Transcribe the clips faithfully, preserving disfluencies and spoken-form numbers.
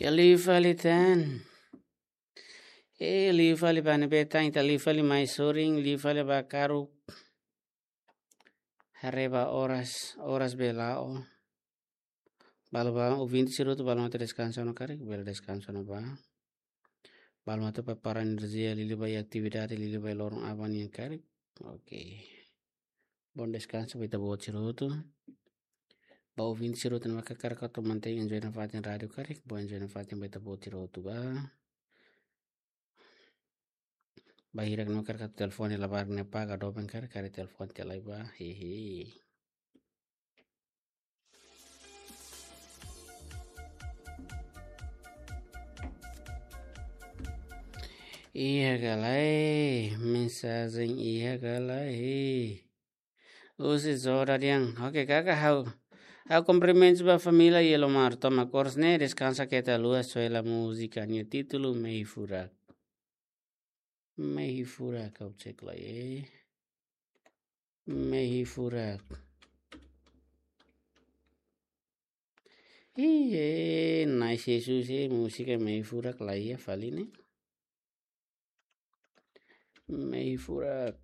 Ya liu fali tan. Eh, liu fali ba ne'ebé tan, ita liu fali mai sorin, liu fali ba karuk. Haree ba oras, oras be la'o. Balu ba ouvinte sira hotu, balu mós atu deskansa ona karik, bele deskansa ona ba. Balu mós atu prepara enerjia, liuliu ba iha atividade, liuliu ba iha loron aban nian karik. Oke. Bom descanso ba ita-boot sira hotu. Ba ouvinte sira hotu ne'ebé hakarak atu mantein enjoy nafatin rádiu karik, bom enjoy nafatin ba ita-boot sira hotu ba. Ba hirak ne'ebé hakarak atu telefone labarik ne'e paga doben karik, karik telefone tiha lai ba. Hehe. Iha ka lae, mensajen iha ka lae. Husi Zora Diang. Oke, kaka ha'u. Ha'u kumprimentus ba família Yellow Mar. Toma kurs ne'e, deskansa keta haluha, soe hela múzika nia títulu Mehi Furak. Mehi Furak, ha'u cek lai, eh. Mehi Furak. Iye, nice Jesus, eh, múzika Mehi Furak la iha fali ne'e. Mehi Furak.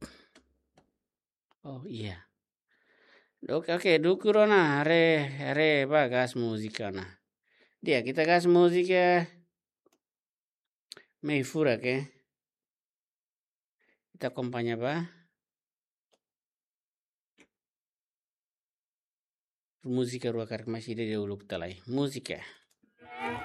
Oh, iya. Oke, oke, dukur ona, haree, haree ba gas múzika ona. Di'ak, ita gas múzika. Mehi Furak, eh. Ita akompaña ba. Múzika rua karik, mais ida-ne'e uluk tiha lai. Múzika.